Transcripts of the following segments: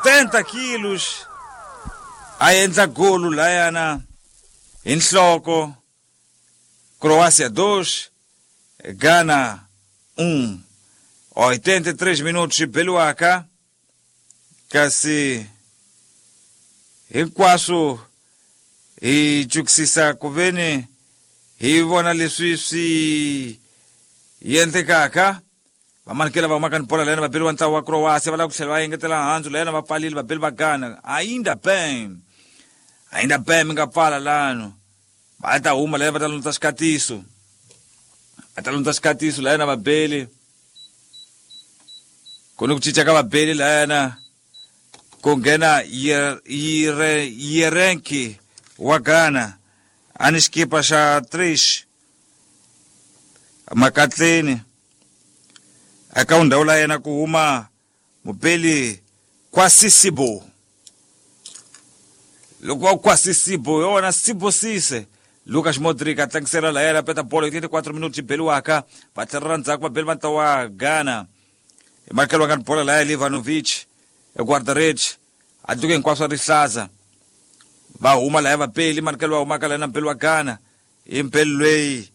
70 quilos a endla golu layana hi nhloko. Croácia 2, Ghana 1. 83 minutos beliwaka, kasi hinkwaswo hi chukisisa kuveni hi vona leswi swi endlekaka. Vamanikela va humaka ni bola layena vabeli wa ntlawa wa Croácia va lava ku tlhela va engetela handzu layena va pfalile vabeli va Ghana. Ainda bem, ainda bem mi nga pfala lano. Va ta huma layena va ta lundza xikatiso, va ta lundza xikatiso layena vabeli. Ku ni ku cinca ka vabeli layena, ku nghena Yerenki wa Ghana a ni xikipa xa 3 makatleni. Eka ndhawu la yena ku huma mubeli Kwasisibo. Loko wa Kwasisibo yona Sibo Sise. Lucas Modric a tlangisela la yena peta bolo 84 minutos beliwaka, va tlhelela ndzhaku vabeli va ntlawa wa Ghana. Hi makelo nga ni bola la ya Livanovic e guarda-redes a tluke hinkwaswo rihlaza. Va huma la ya vabeli manikelo va humaka la na mbeli wa Ghana. I mbeli loyi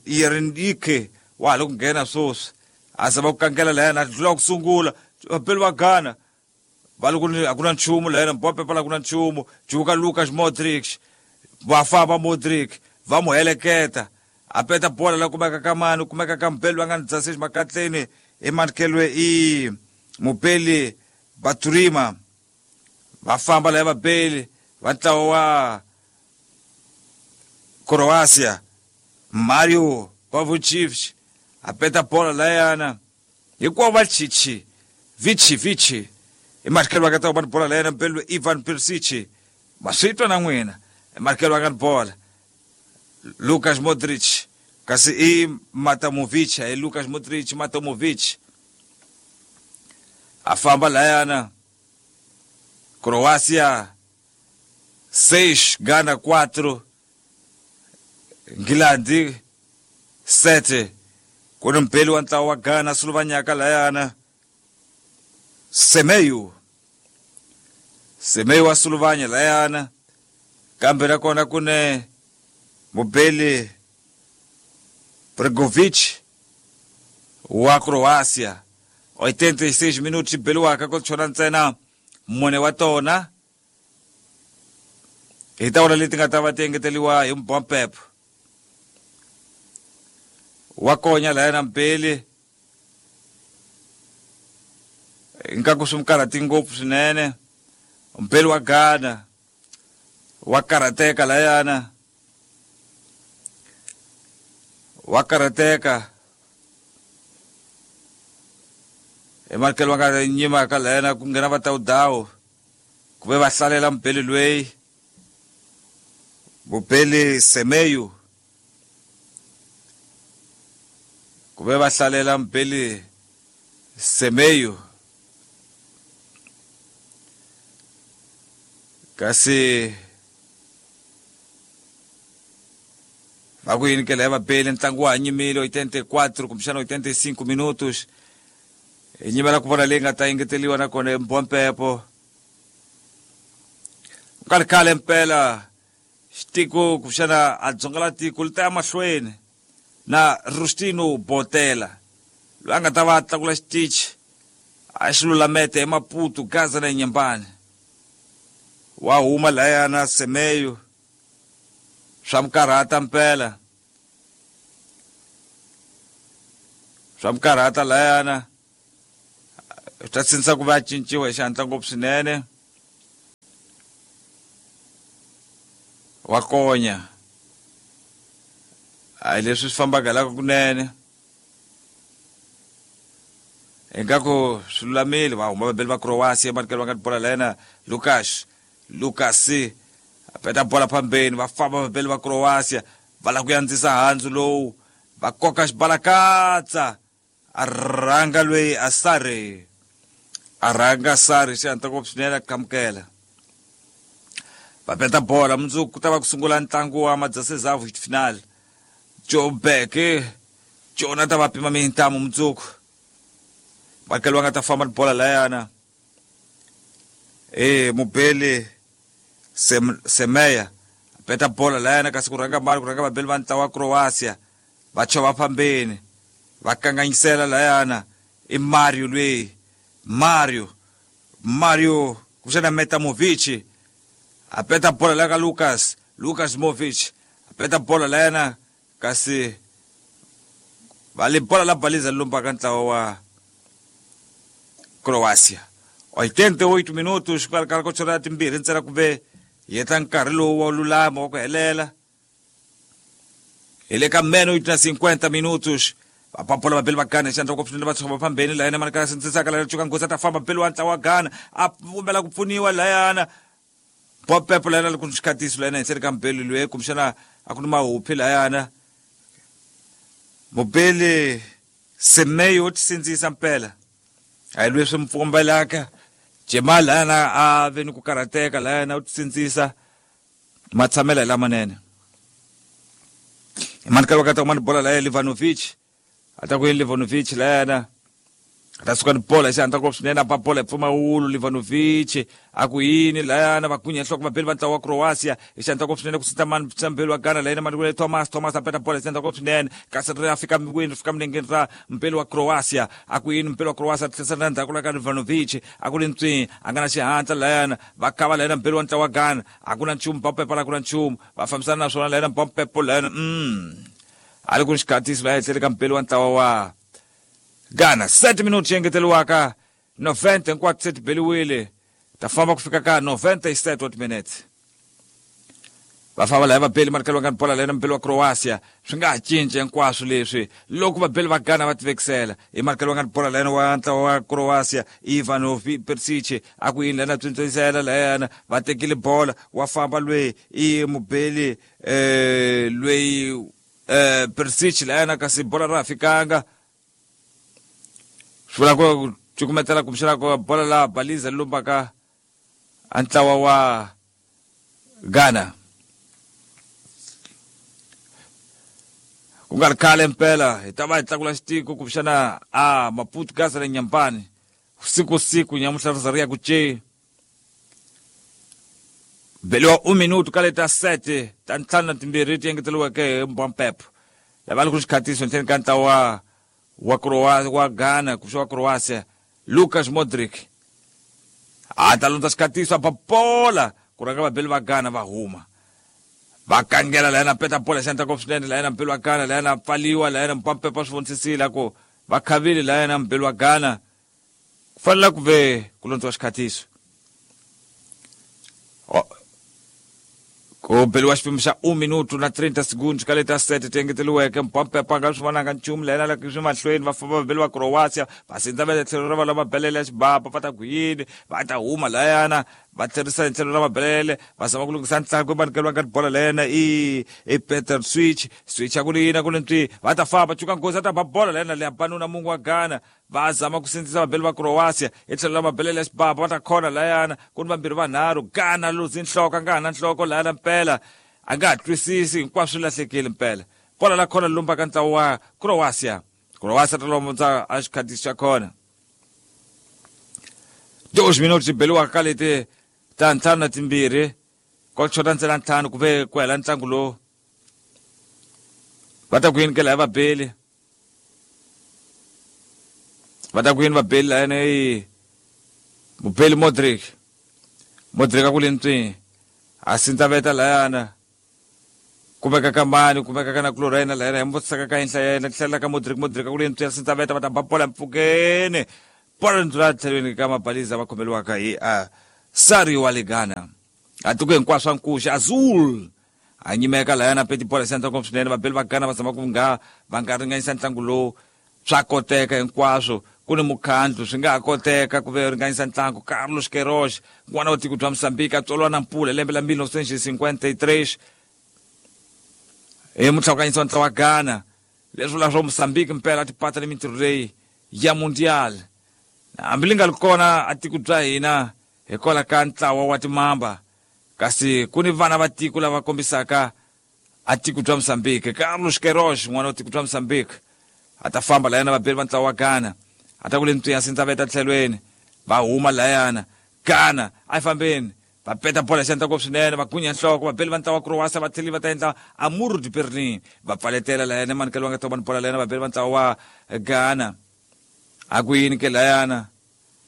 Yerindike wa ha le ku nghena sweswi. A zama ku kangela la yena a tlula ku sungula vabeli va Ghana. Va le ku ni a ku na nchumu la yena Mbappe pala ku na nchumu. Juka Lucas Modric va famba Modric va mu heleketa. A peta bola la kumeka ka mani, kumeka ka mbeli va nga ni dzasisi makatleni. I manikelwe i mubeli Baturima. Va famba la ya vabeli va ntlawa wa Croatia. Mario Pavlovich a peta bola la yana hinkwavo va chichi vichi vichi. I manikelo va nga ta huma ni bola la yena mbeli Ivan Perisic. Ma swi twa na n'wina. I manikelo va nga ni bola Lucas Modric, kasi i Matamovic, i Lucas Modric Matamovic a famba layana. Croácia 6, Ghana 4, Nghilandi 7. Ku ni mbeli wa ntlawa wa Ghana Slovanyaka layana Semeyu. Semeyu wa Slovanya layana. Kambe nakona ku ne mubeli Bregovic wa Croácia. 86 minutos beliwaka ku chona ntsena mune wa tona. Hi ta vona leti nga ta va ti engeteliwa hi Mbappe. Wa konya layana mbeli. Ingaku swi karhati ngopfu swinene. Mbeli wa Ghana wa karhateka layana. Wa karhateka. Hi manikelo va nga nyima ka layana ku nghena va Tawudawu. Ku ve va hlalela mbeli loyi. Mubeli Semeyu. Ku ve va hlalela mbeli Semeyu. Kasi va ku yini ke laya vabeli ntlangu wa ha nyimile 84 kumbexana 85 minutos. Hi nyimela ku vona leyi nga ta engeteliwa nakona hi Mbompepo. Ku nga ri khale mpela xitiko kumbexana a dzonga la tiko li ta ya mahlweni na Rustino Botela loyi a nga ta va a tlakula xitichi a xi lulamete eMaputo, Gaza na Nyembani. Wa huma layana Semeyu swa mukarhata mpela, swa mukarhata layana. Swi ta sindzisa ku va cinciwa hi xihatla ngopfu swinene. Wa konya a hi leswi swi fambaka hi la kunene. Ingaku swi lulamile. Va huma vabeli va Croatia manikelo va nga bola la yena Lucas. Lucas a peta bola phambeni. Va famba vabeli va Croatia va lava ku andzisa handzu lowu. Va koka xibalakatsa. A rhanga loyi a Sari. A rhanga Sari xihatla ngopfu swinene a qhamukela. Va peta bola mundzuku ku ta va ku sungula ntlangu wa Madzasezavu final. Joburg Jona ta va pima mintamu mundzuku. Makelo va nga ta famba ni bola layana. Mubeli Semeya peta bola layana kasi ku rhanga mali ku rhanga vabeli va ntlawa wa Croatia va chova phambeni va kanganyisela layana i Mario lweyi Mario kuxana Metamovic a peta bola la ka Lucas Movic a peta bola layana kasi va le bola la baliza lumba ka ntlawa wa Croatia 88 minutos kwala ko chora timbirhi ntsena kumbe yetla nkarhi lowu wa lulama wa ku helela hi le ka meno na 50 minutos vapapola vabeli va Ghana xandla ku swinene va tshova phambeni layana mani ka sindzisaka layana cuka nghozi a ta famba beli wa ntlawa wa Ghana a vumbela ku pfuniwa layana bopepo layana loko xikhatiso layana henhleni ka mbeli loyi kumbexana a ku ni mahuphi layana mubeli Semeyo ti sindzisa mpela a hi leswi mi pfumbelaka Jemal layana a ve ni ku karhateka layana u ti sindzisa matshamela hi lamanene mani ka wakati mani bola laya Livanovic a ta ku yini Livanovic layana a ta suka ni bola xi ku swinene a ba bola hi pfumawulo Livanovic a ku yini layana va gunya nhloko vabeli va ntlawa wa Croatia hi xandla ku swinene ku sita mani mbeli wa Ghana layana mani Thomas a peta bola hi xandla ku swinene kasi ri a fika wini ri fika milengeni ra mbeli wa Croatia a ku yini mbeli wa Croatia tlhisa na ndzhaku la ka Livanovic a ku ri ntswi a nga na xihatla layana va kava layana mbeli wa ntlawa wa Ghana a ku na nchumu bompepo la ku na nchumu va fambisana na swona layana bompepo layana a ri ku xikhatiso laya etlhele ka mbeli wa ntlawa wa Ghana 7 minutos engeteriwaka 90 hinkwato se ti beliwile ta famba ku fika ka 97 wa timinete va famba laya vabeli manikelo nga bola layana mbeli wa Croatia swi nga ha cinci hinkwaswo leswi loko vabeli va Ghana va tivekisela hi manikelo nga bola layana wa ntlawa wa Croatia Ivanovic Perisic a ku yini layana tswintswisela layana va tekile bola wa famba lweyi i mubeli lweyi Perisic layana kasi bola ra fikanga swi vula ku cukumetela kumbexana ku bola la baliza lumbaka a ntlawa wa Ghana ku nga ri khale mpela hi ta va hi tlakula xitiko kumbexana a Maputo Gaza le Nyambani siku siku nyamuhla ri za ri ya ku ce beliwa 1 minuto ka leta 7 ta ntlhanu na timbirhi ti engeteriweke hi Mbampep lava ri ku xikhatiso ntlheni ka ntlawa wa Croatia wa Ghana kuxa wa Croatia Lucas Modric a ta lundza xikhatiso a ba bola ku rhanga vabeli va Ghana va huma va kangela layana peta bola xandla ko swinene layana mbeli wa Ghana layana pfaliwa layana Mpampepa swi vonisisile ku va khavile layana mbeli wa Ghana ku fanele ku ve ku londziwa xikhatiso ku beliwa xipimo xa 1 minuto na 30 segundos ka leta 7 ti engeteriweke Mpampepa nga swi vonanga nchumu layana la swi mahlweni va famba vabeli va Croatia va sindza va le tlhelo ra va lava belele ya xibaba va ta ku yini va ta huma layana va tlherisa hi tlhelo ra mabelele va zama ku lunghisa ntlangu va nga bola layana i Peter Switch a ku ri yini a ku ri ntswi va ta famba cuka nghozi a ta ba bola layana leya banuna mungu wa Ghana va zama ku sindzisa vabeli va Croatia hi tlhelo ra mabelele ya xibaba va ta khona layana ku ni vambirhi vanharhu Ghana luzi nhloko a nga ha na nhloko layana mpela a nga ha twisisi hinkwaswo swi lahlekile mpela bola la khona lumba ka ntlawa wa Croatia Croatia ta lomondza a xikhatiso xa khona 2 minutos beliwaka ka leti ta ntlhanu na timbirhi ko chota ntsena ntlhanu ku ve ku hela ntlangu lowu va ta ku yini ke laya vabeli va ta ku yini vabeli layana i mubeli Modric a ku le ntswini a sindzaveta layana kumeka ka mani kumeka ka na Chlorina layana hi muvutisaka ka yinhla ya yena tlhela ka Modric a ku le ntswini a sindzaveta va ta ba bola mpfukeni bola ndzula tlhelweni ka mabaliza va khomeliwaka hi a Sari wa le Ghana a tiko hinkwaswo a nkuxa Azul a nyimeka layana peti bola xandla ngopfu swinene vabeli va Ghana va zama ku nga va nga ringanyisa ntlangu lowu swa koteka hinkwaswo ku ni mukhandlu swi nga ha koteka ku ve ringanyisa ntlangu Carlos Queiroz n'wana wa tiko bya Mozambique a tswariwa na Mpula lembe la 1953 hi mutlhakanyisi wa ntlawa wa Ghana leswi vula swo Mozambique mpela a tipata ni mintirho leyi ya mundial hambi li nga ri kona a tiko bya hina hikwalaho ka ntlawa wa timamba kasi ku ni vana va tiko lava kombisaka a tiko bya Mozambique Carlos Queiroz n'wana wa tiko bya Mozambique a ta famba layana vabeli va ntlawa wa Ghana a ta ku le ntswiya sindzaveta tlhelweni va huma layana Ghana a yi fambeni va peta bola xandla ngopfu swinene va gunya nhloko va beli va ntlawa wa Croatia va tlheli va ta endla Amuru de Berlin va pfaletela layana manikelo va nga ta va ni bola layana va beli va ntlawa wa Ghana a ku yini ke layana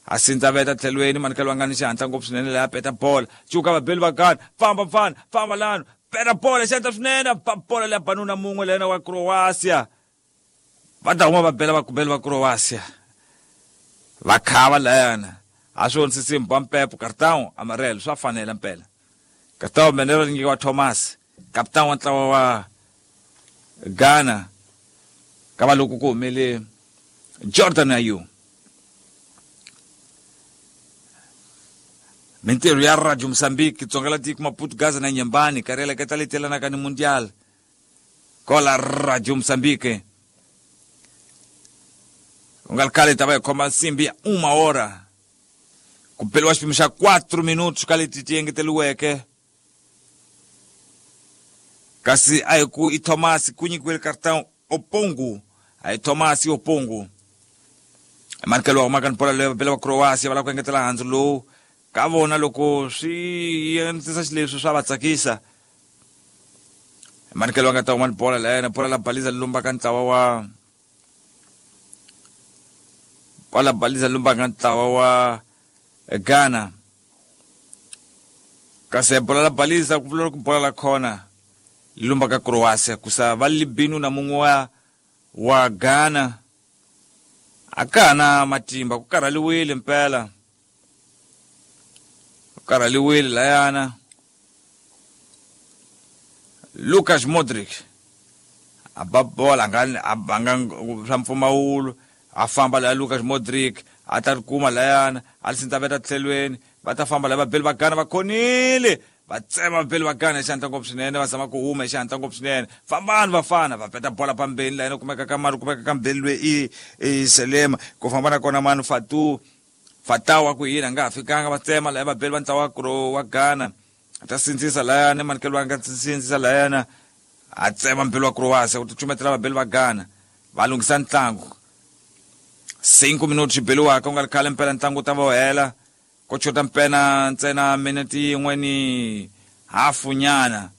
a sindza veta tlhelweni manikelo va nga ni xihatla ngopfu swinene laya peta bola cuka vabeli va Ghana famba mfana famba lano peta bola xihatla swinene ba bola leya banuna mun'we layana wa Croatia va ta huma va bela vakubeli va Croatia va khava layana a swi ondzisi ba mpepo cartão amarelo swa fanela mpela cartão amarelo nyikiwa Thomas kapitani wa ntlawa wa Ghana ka va loko ku humele Jordan Ayew mintirho ya Radio Mozambique Tsonga la tiko Maputo Gaza na Nyembani kareleketa leti yelanaka ni Mundial kola Radio Mozambique ku nga ri khale ta va hi khoma nsimbi ya uma hora ku beliwa xipimo xa 4 minutos ka leti ti engeteriweke kasi a hi ku i Thomas ku nyikiwile cartão Opongu a hi Thomas Opongu manikelo wa humaka ni bola leyo bela va Croatia va lava ku engetela handzu lowu ka vona loko swi endlisa xileswi swa va tsakisa manikelo wa nga ta huma ni bola layena bola la baliza lumbaka ntlawa wa bola baliza lumbaka ntlawa wa Ghana kasi bola la baliza ku vula ku bola la khona lumbaka Croatia kusa va libinu na mun'we wa Ghana a ka ha na matimba ku karhaliwile mpela ku karhaliwile layana Lucas Modric a ba bola a nga a banga swa mpfumawulo a famba laya Lucas Modric a ta ri kuma layana a li sindzaveta tlhelweni va ta famba laya vabeli va Ghana va khonile va tsema vabeli va Ghana hi xihatla ngopfu swinene va zama ku huma hi xihatla ngopfu swinene fambani vafana va peta bola pambeni layana kumeka ka mani kumeka ka mbeli loyi i Selema ku famba na kona mani Fatu Fatawa ku yini a nga ha fikanga va tsema laya vabeli va ntlawa wa Ghana ta sindzisa layana manikelo a nga sindzisa layana a tsema mbeli wa Croatia ku ticumetela vabeli va Ghana va lunghisa ntlangu 5 minuti xi beliwaka ku nga ri khale mpela ntlangu wu ta va wu hela ko chota mpena ntsena minete yin'we ni hafu nyana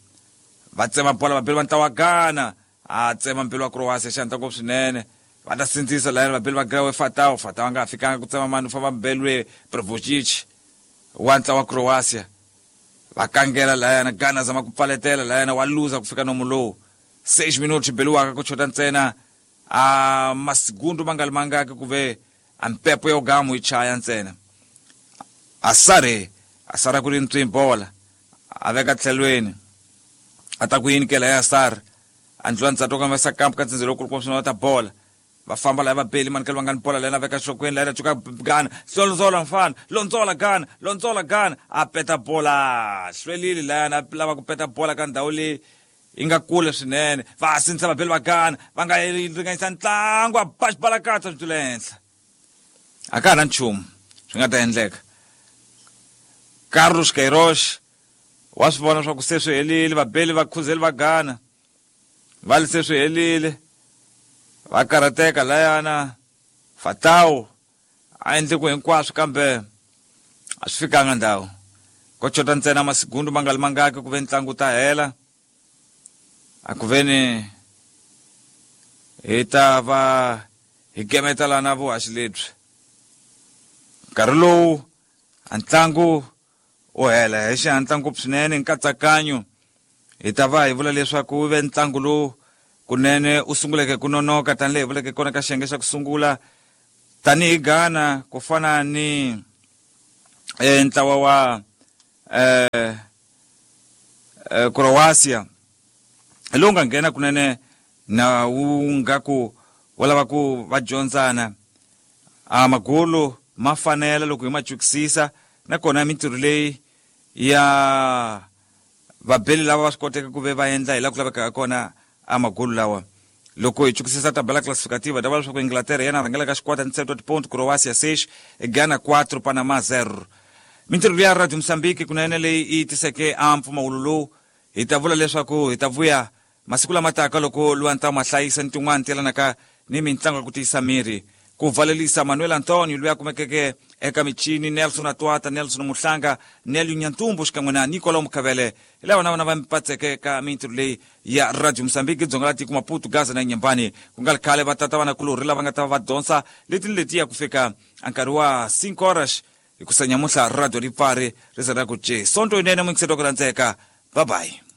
va tsema bola vabeli va ntlawa wa Ghana a tsema mbeli wa Croatia xi hatla ngopfu swinene va ta sindzisa layana vabeli va Ghana we Fatawu Fatawu a nga ha fikanga ku tsema mani u famba mbeli we Prvojic wa ntlawa wa Croatia va kangela layana Ghana zama ku pfaletela layana wa luza ku fika nomu lowu 6 minuti xi beliwaka ku chota ntsena a masigundu ma nga ri mangaki ku ve a mpepo yo gamu yi chaya ntsena a sara ku ri ntswi bola a veka tlhelweni a ta ku yini kela ya sar a ndlula ntsatwa ka vesa kamp ka ntsindze lowu swinene ta bola va famba laya vabeli manikelo va nga ni bola layana veka xokweni layana cuka Ghana londzola mfana londzola Ghana londzola Ghana a peta bola hlwelile layana a lava ku peta bola ka ndhawu leyi yi nga kule swinene va sindzisa vabeli va Ghana va nga ringanyisa ntlangu a ba xibalakatsa swi tlula henhla a ka ha na nchumu swi nga ta endleka Carlos Queiroz wa swi vona swa ku se swi helile vabeli va khuzeli va Ghana va li se swi helile va karhateka layana Fatawu a endle ku hinkwaswo kambe a swi fikanga ndhawu ko chota ntsena masigundu ma nga ri mangaki ku ve ntlangu ta hela a ku veni hi ta va hi gemeta lana vuhaxi lebyi nkarhi lowu a ntlangu u hela hi xihatla ngopfu swinene nkatsakanyo hi ta va hi vula leswaku wu ve ntlangu lowu kunene u sunguleke ku nonoka tanihi hi vuleke kona ka xiyenge xa ku sungula tanihi Ghana ku fana ni ntlawa wa Croatia lowu nga nghena kunene na wu nga ku wu lava ku va dyondzana a magolo ma fanela loko hi ma cukisisa nakona mintirho leyi ya vabeli lava va swi koteke ku ve va endla hi laha ku lavekaka kona a magolo lawa loko hi cukisisa tabela classificativa ta va leswaku Inglaterra yena rhangelaka xikwata ni 7 point Croatia 6 Ghana 4 Panama 0 mintirho ya Radio Mozambique kunene leyi yi tiseke a mpfumawulo lowu hi ta vula leswaku hi ta vuya masiku lama taka loko luwa ma hlayisa ni tin'wana ti yelanaka ni mintlangu ya ku tiyisa miri ku valelisa Manuel Antonio loyi a kumekeke Eka michini Nelson Atwata, Nelson Muhlanga, Nelio Nyantumbu xikan'we na Nicolau Mukhavele hi lava na vona va mipatseke ka mintirho leyi ya Radio Mozambique dzonga la tiko Maputo, Gaza na Nyembani. Ku nga ri khale va tata vanakulorhi lava nga ta va va dyondza leti ni letiya ku fika a nkarhi wa 5 horas hi ku sa nyamuhla radio ri pfari ri za ra ku ce. Sonto yinene muyingiseri wa ku rhandzeka. Bye bye.